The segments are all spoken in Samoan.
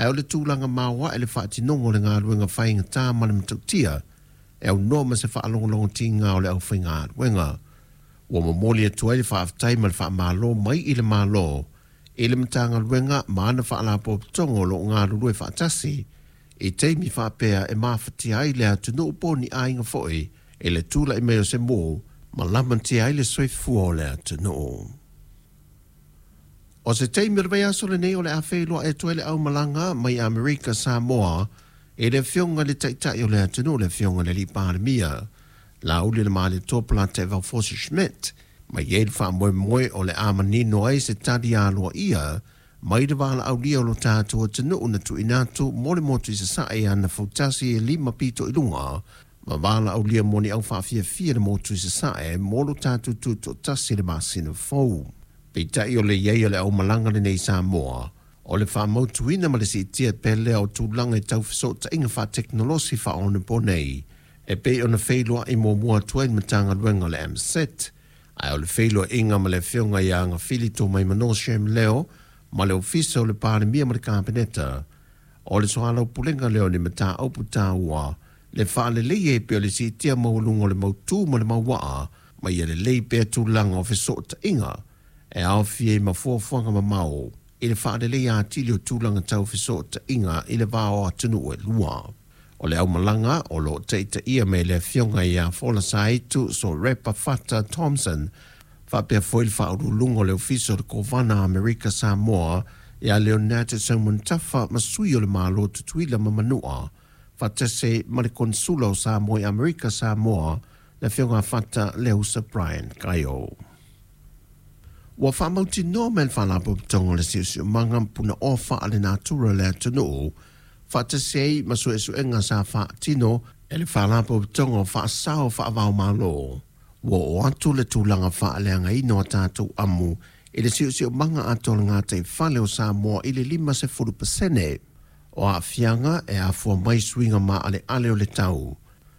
Ae o le tulaga maoae le faatinoga o le galuega faigata ma le matautia e aunoa ma se faalogologotiga o le aufaigaluega. Ua momoli atu ai le faafetai ma le faamalo mai i le Malo i le Matagaluega ma ana Faalapotopotoga o lo o galulue faatasi i taimi faapea e mafatia ai le atunuu po o ni aiga foi i le tulai mai o se mū ma lamatia ai le soifua o le atunuu. O se taimi o le vaiaso lenei o le a feiloai atu ai le aumalaga mai Amerika Samoa i le Afioga i le Taitai o le atunuu, le Afioga i le Alii Palemia, Laaulialemalietoa Polataivao Fosi Schmidt, ma i ai le faamoemoe o le a manino ai se tali aloaia mai le valaaulia o lo tatou atunuu na tuuina atu mo le motu i Sasae i ana fautasi e 5 pito i luga ma valaaulia mo ni aufaafiafia i le motu i Sasae mo lo tatou tutoatasi i le masina fou. Peitai o le i ai o le aumalaga lenei i Samoa, o le faamautuina ma le siitia pea lea o tulaga i tau fesootaiga faatekonolosi faaonaponei e pei ona feiloai muamua atu ai le Matagaluega o le MSET, ae o le feiloaiga ma le Afioga ia Agafili Tomaimano Shem Leo ma le Ofisa o le Palemia ma le Kapeneta, o le soalaupulega lea o ni mataupu taua le faaleleia e pei o le siitia maualuga o le mautū ma le mauaa ma ia lelei pea tulaga o fesootaiga e aofia ai ma fuafuaga mamao i le faaleleia atili o tulaga tau fesootaiga i le va o atunuu e lua. O le aumalaga o lo o taitaia mai e le Afioga ia Folasaaitu Sorepa Fata Thompson faapea foi le Faauluuluga o le Ofisa o le Kovana Amerika Samoa ia Leonard Seumanutafa ma sui o le Malo Tutuila ma Manua faatasi ai ma le Konesula o Samoa i Amerika Samoa le Afioga Fata Leausa Brian Kaio. Ua faamautinoa mai e le Faalapotopotoga o le Siosiomaga ma Punaoa Faalenatura o le atunuu faatasi ai ma suesuega sa faatino e le Faalapotopotoga o Faasao Faava-o-Malo, ua oo atu le tulaga faaleagaina o a tatou amu i le siosiomaga atoa o le gataifale o Samoa i le 50%. O aafiaga e afua mai i suiga maaleale o le tau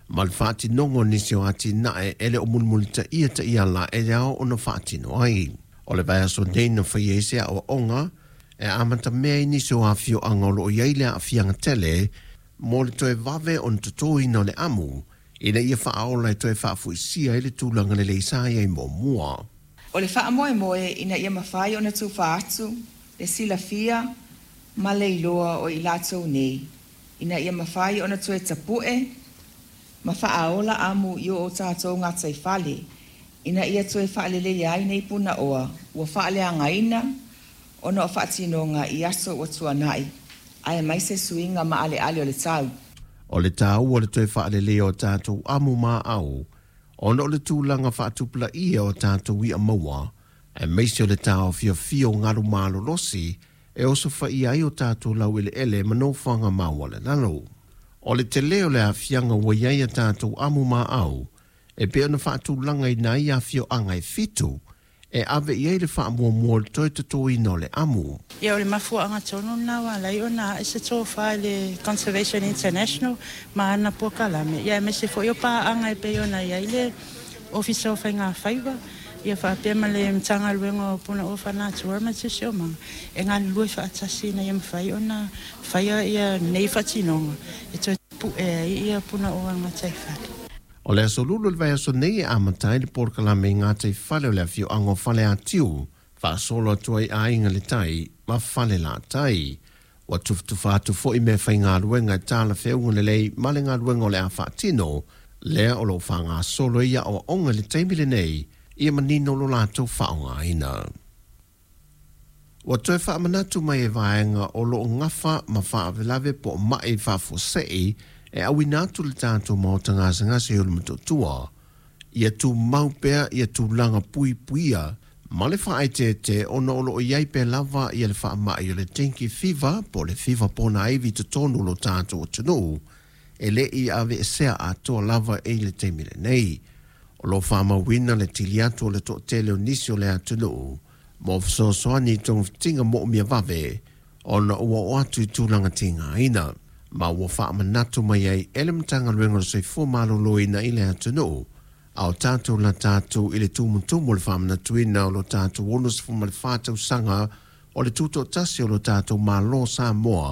ma le faatinoga o nisi o atinae e le o mulimulitaia taiala e ao ona faatino ai. O le vaiaso nei na faia ai se aoaoga e amatamea ai nisi o afioaga o lo o i ai le aafiaga tele mo le toe vave ona totoina o le amu ina ia faaola e toe faafoisia ai le tulaga lelei sa i ai muamua. O le faamoemoe ina ia mafai ona tufa atu le silafia ma le iloa o i latou nei ina ia mafai ona toe tapu'e ma faaola amu i o tatou gataifale ina ia toe faaleleia ai nei punaoa ua faaleagaina ona o faatinoga i aso ua tuanai aemaise suiga maaleale o le tau. O le taua o le toe faaleleia o tatou amu maau ona o le tulaga faatupulaia o tatou i'a maua, aemaise o le taofiofia o galu malolosi e osofaia ai o tatou laueleele ma nofoaga maualalalo. O le tele o le aafiaga ua i ai a tatou amu maau e pei ona faatulagaina ai afioaga e 7 e ave i ai le faamuamua o le toe totoina o le amu. Ia, o le mafuaaga tonu lena ua ala ai ona ae se tofa i le Conservation International ma ana polokalame, ia aemaise foi o paaga e pei ona i ai le Ofisa o Faigafaiva, ia faapea ma le Matagaluega o Punaoa Faalenatura ma le Siosiomaga, e galulue faatasi ina ia mafai ona faia ia nei faatinoga e toe pu'e ai ia punaoa gataifale. O le aso Lulu o le vaiaso nei e amata ai le polokalame i gataifale o le afioaga o Faleatiu, faasolo atu ai Aiga i le Tai ma Falelatai. Ua tufatufa atu foi meafaigaluega e talafeauga lelei ma le galuega o le a faatino, lea o lo o faagasolo ai aoaoga i le taimi lenei ia manino lo latou faaaogaina. Ua toe faamanatu mai e vaega o lo o gafa ma faalavelave po o mai faafuasei e auina atu i le tatou maota gasegase i Ulumotootua, ia tumau pea ia tulaga puipuia ma le faaeteete ona o lo o i ai pea lava ia le faamai o le dengue fever po o le fiva ponaivi i totonu o lo tatou atunuu e le i aveesea atoa lava i le taimi lenei. O lo o faamauina le tili atu o le toatele o nisi o le atunuu mo fesoasoani i togafitiga moomia vave ona ua oo atu i tulaga tigaina, ma ua faamanatu mai ai e le Matagaluega o le Soifua Maloloina i le atunuu a o tatou lata atu i le tumutumu o le faamanatuina o lo tatou 64 tausaga o le tutoatasi o lo tatou Malo Samoa.